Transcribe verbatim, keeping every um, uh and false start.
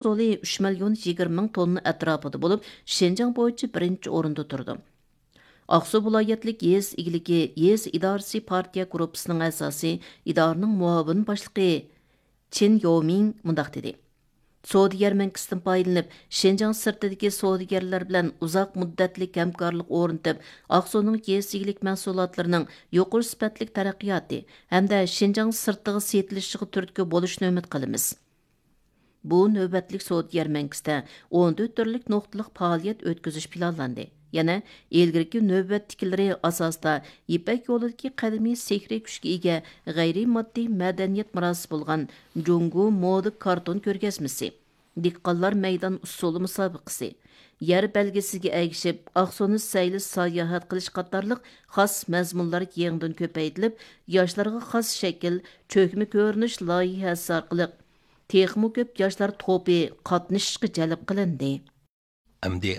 ئاقسۇ ئۈچ مىليون يىگىرمە مىڭ توننا ئەتراپىدا بولۇپ، شىنجاڭ بويىچە بىرىنچى ئورۇندا تۇرىدۇ. ئاقسۇ ۋىلايەتلىك يېزا ئىگىلىكى يېزا ئىدارىسى پارتىيە گۇرۇپپىسىنىڭ ئەزاسى، ئىدارىنىڭ مۇئاۋىن باشلىقى چېن ياۋمىڭ مۇنداق دېدى: سودا يەرمەنكىسىدىن پايدىلىنىپ، شىنجاڭ سىرتىدىكى سودىگەرلەر بىلەن ئۇزاق مۇددەتلىك ھەمكارلىق ئورنىتىپ، ئاقسۇنىڭ يېزا ئىگىلىك مەھسۇلاتلىرىنىڭ يۇقىرى سۈپەتلىك تەرەققىياتى ھەمدە شىنجاڭ سىرتىغا سېتىلىشىغا تۈرتكە بولۇشىنى ئۈمىد قىلىمىز. بۇ نۆۋەتلىك سودا يەرمەنكىسىدە ئون تۆت تۈرلۈك نۇقتىلىق پائالىيەت ئۆتكۈزۈش پىلانلاندى. يەنە ئىلگىرىكى نۆۋەتتىكىلىرى ئاساسىدا يىپەك يولىدىكى قەدىمىي سېھرىي كۈچكە ئىگە غەيرىي ماددىي مەدەنىيەت مىراسى بولغان جۇڭگو مودا كارتون كۆرگەزمىسى، دېھقانلار مەيدان ئۇسسۇلى مۇسابىقىسى، يەر بەلگىسىگە ئەگىشىپ ئاقسۇنى سەيلە ساياھەت قىلىش قاتارلىق خاس مەزمۇنلار يېڭىدىن كۆپەيتىلىپ، ياشلارغا خاس شەكىل، چۆكمە كۆرۈنۈش لايىھەسى ئارقىلىق تېخىمۇ كۆپ ياشلار توپى قاتنىشىشقا جەلپ قىلىندى. ئەمدى